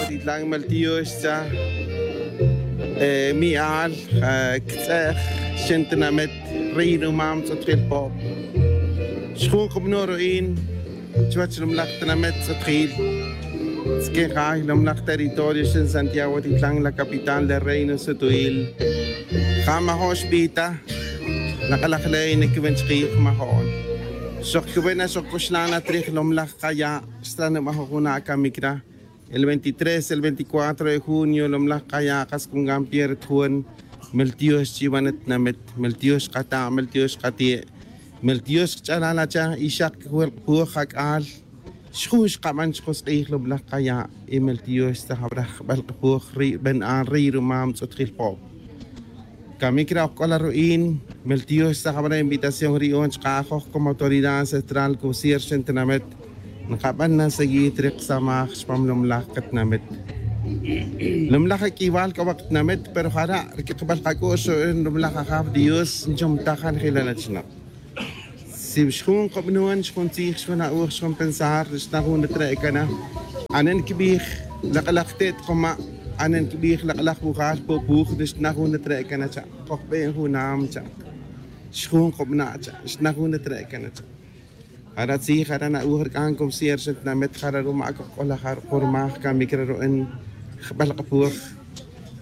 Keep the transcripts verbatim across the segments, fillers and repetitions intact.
Titlan, mel tiox tza. Mi'al, ktz'e'j, xen tinamet, rey numam tz'utjil pob. Xjun kubno' ru'in chuwech lumlaj tinamet tz'utjil. Tz'ukin jay lumlaj territorio xen Santiago Titlan, la capital del reino sutuil. Ja majo'n xbij ta. Lak'alaj ley nikiben chkij majo'n. Xok kiben na xok kuxlan na trij lumlaj kaya'. Xtran nuba' jujun a' kamik ra. El veintitrés, el veinticuatro de junio lumlaj kaya' kas kun kan pierde jun. Mel tiox chiban tinamet, mel tiox kata', mel tiox kati'. Mel tiox kch'alal acha y xak kajwel kpuj jak'al. Xjun xkaban chkos k'ij lumlaj kaya'. Y mel tiox tzajabra jbel kpuj ri' ben a' rey rumam tz'utjil pob. Kamik ra' ok k'ola ru'in. Mel tiox tzajabra invitación ri'on chka' ajoj como autoridad ancestral kusier xen tinamet. Nkaban na seguir ri ksamaj chpam lumlaj katinamet. Lumlaj ak'iwal k'o wak tinamet pero jara' ri kikbal kak'u'x ru'in lumlaj ajaw dios nchom tajan jilal achnab. Si xjun kobnon xjun tzij xjun a'uj xjun pensar xna jun ri tre'kana. Anen kibij lak'alaj te't koma'. Anen kibij lak'alaj wujal pupuj ri xna jun ri tre'kana cha'. Kojben junam cha'. Xjun kobna' cha' xna jun ri tre'kana cha'. Jara' tzij jara' na'uj rik'an kobsier xa tinamet jara' ruma' kojk'olajar kurmaj kamik ra ru'en jbal kapuj.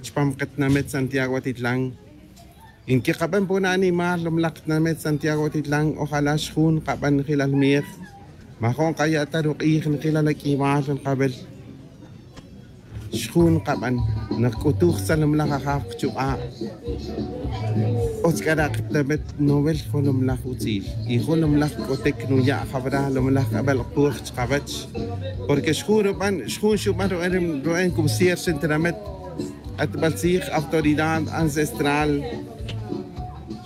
Chpam katinamet santiago atitlan. Nkikaben pon animal lumlaj tinamet santiago atitlan ojala' xjun kaben jilal mij. Majo'n kaya' ta ruk'ij njilal ak'iwal nkabel. Xjun kaben nkak'utuj tzalumlaj ajaw kachuk'a'. Otz k'ara' katinamet nowel jolumlaj utzil. Y jolumlaj k'otik nuya' jabra lumlaj k'abel kpuj chkawech. Porque xjun ruben xjun xuben ruben kobsier xa tinamet. K'atbal tzij autoridad ancestral.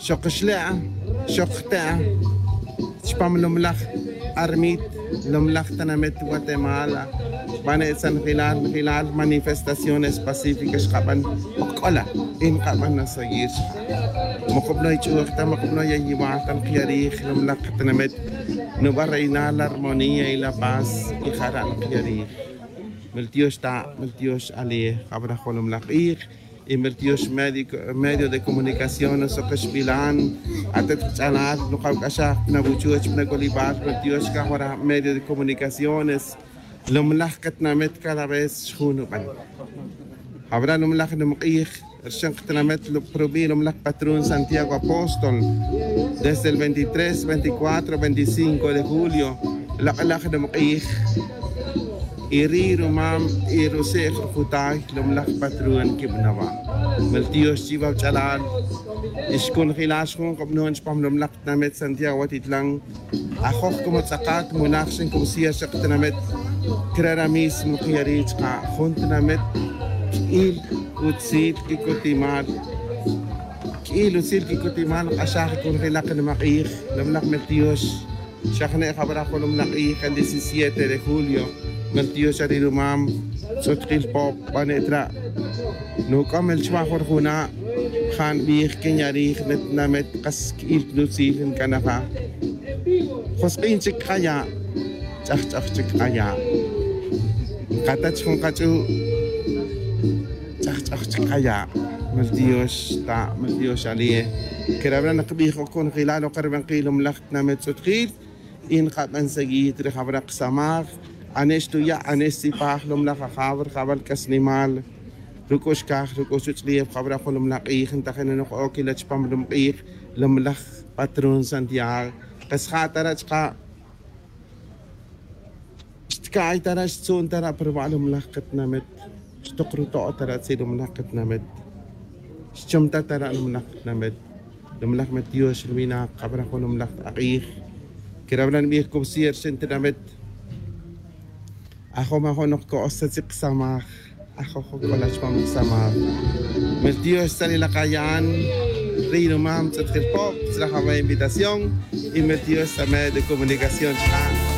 Xok xle'a xok jte'a. Chpam lumlaj armit lumlaj tanamet guatemala. Bane' tzanjilal njilal manifestaciones pacíficas xkaben. Ok'ola y nkaben na seguir. Mokobnoy ch'uj ta mokobnoy ayiwal ta nqya' rij lumlaj katanamet. Nuba' reinar la armonía y la paz. Y jara' nqya' rij. Mel tiox ta' mel tiox ali' jabra jolumlaj q'ij. Y mel tiox medio de comunicación soke xbilan. Atet kach'alal nukawk'axaj pna wuchuch pna k'olibal mel tiox kajwara medio de comunicaciones. Lumlaj katinamet cada vez xjun nuben. Jabra lumlaj numq'ij rxen katinamet. Probi lumlaj patrón santiago apóstol desde el veintitrés veinticuatro veinticinco de julio. Lak'alaj numq'ij. Y ri' rumam y ruse'j rujutay lumlaj patrón kibnaba'. Mel tiox chiwa wach'alal. Y xkunjilal xjun kobnon chpam lumlaj tinamet santiago atitlan. Ajoj como tz'akat mulaj xen como sier xa katinamet. Kre' ra mismo kiyari' chka' jun tinamet. K'il utzil kikutimal. K'il utzil kikutimal nk'axaj kunjilak nimaq'ij. Lumlaj mel tiox. Xa jne' jabra jolumlaj q'ij el diecisiete de julio. Mel tiox ari' rumam tz'utkil pob bane' tra'. Nuk'om el chwa jun rujuna'. Ja' nbij kin ya' rij ne tinamet kas k'il nutzil nkanaja. Josk'in chik kaya'. Ch'ajch'aj chik kaya'. Nkatach jun kach'u'. Ch'ajch'aj chik kaya'. Mel tiox ta' mel tiox ali'. Kerabra' nkbij ok kunjilal ok ribanqil lumlaj tinamet tz'utkil. Y nkaben seguir ri jabra' kasamaj. Ane' xtuya' ane' xtzipaj lumlaj ajaw ri jabal k'asnimal. Ruk'ux kaj ruk'ux chuch'lef jabra' jolumlaj q'ij ntajin noj ok ila chpam lumq'ij. Lumlaj patrón santiago. Kas ja' tara' chka'. Xtka'ay tara' xtzu'n tara' pa ruba' lumlaj katinamet. Xtok ruto' tara' tzil lumlaj katinamet. Xchom ta tara' lumlaj katinamet. Lumlaj met tiox ruwinak jabra' jun lumlaj ak'ij. Kerabra' nbij kobsier xa tinamet. Ajom ajom noj ko'os ta tzil kasamaj. Ajoj jun k'ola chpam kasamaj. Mel tiox tzalil akaya'an. Riy numam tz'utkil pob tzil ajaba' invitación. Y mel tiox ta medio de comunicación chka'.